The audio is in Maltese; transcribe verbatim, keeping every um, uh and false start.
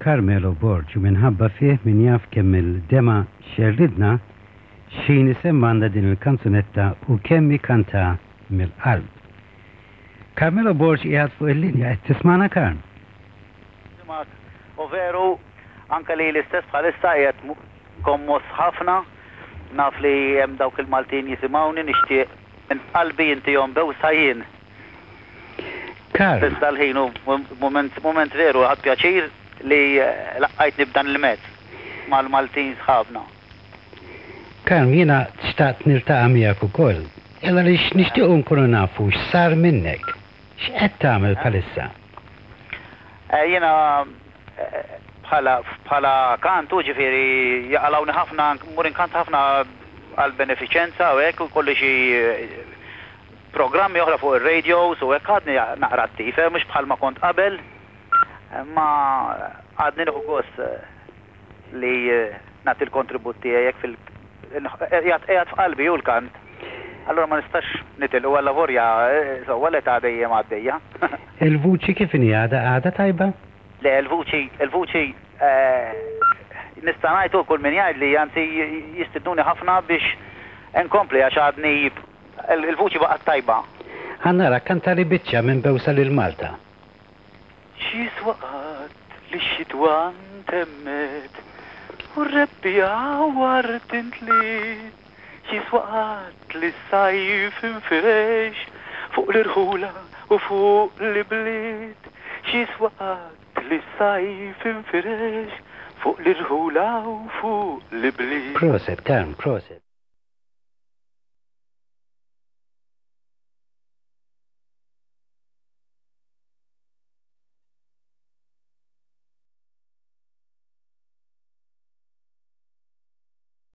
Carmelo Borg u minħabba fih min jaf kemm il-dema xerridna x'ħin isemmgħalna din il-kanzunetta u kemm kanta mill-qalb. Carmelo Borg qiegħed fuq il-linja, qed tismagħna, Karm? U veru, anka li l-istess bħalissa qiegħed kommos ħafna, naf li hemm dawk il-Maltin jisimgħuni, nixtieq minn qalbi intihom bewsa jien. Karm. Iżda l-ħin u moment, moment veru, ħadt pjaċir li laqqajtni b'dan il-mezz mal-Maltin sħabna. Karm, jiena xtaqt niltaqa' miegħek ukoll. Illa li nixtiequ nkunu nafu x'sar minnek. X'qed tagħmel bħalissa? Eh, jiena eh, bħala bħala kantu, ġifieri jaqalawni ħafna, mmur inkanta ħafna għal benefiċenza u hekk, u kolli xi eh, programmi oħra fuq ir-radios u hekk. Għadni naqra attiv, eh, mhux bħalma kont qabel, ma għadni nieħu gost eh, li eh, nagħti l-kontribut tiegħi hekk fil qiegħed qiegħed f'qalbi u l-kant. Allora ma nistax nitilqu għalla vorja sewwa l-età dejjem għaddejja. Il-vuċi kif inhi, għadha għadha tajba? Le, il-vuċi, il-vuċi eh, nista' ngħid kull min jgħid li anzi jistidnuni ħafna biex nkompli għax għadni il-vuċi baqgħet tajba. Ħa nara, kantali biċċa minn Bewsa lil Malta. X'jiswa qatt li x-xitwa ntemmet u r-rebbiegħa ward intliet? X'jiswa qatt li s-sajf infirex fuq l-irħula u fuq l-ibliet? X'jiswa qatt li s-sajf infirex fuq l-irħula u fuq l-ibliet? Prosit, Karm, prosit.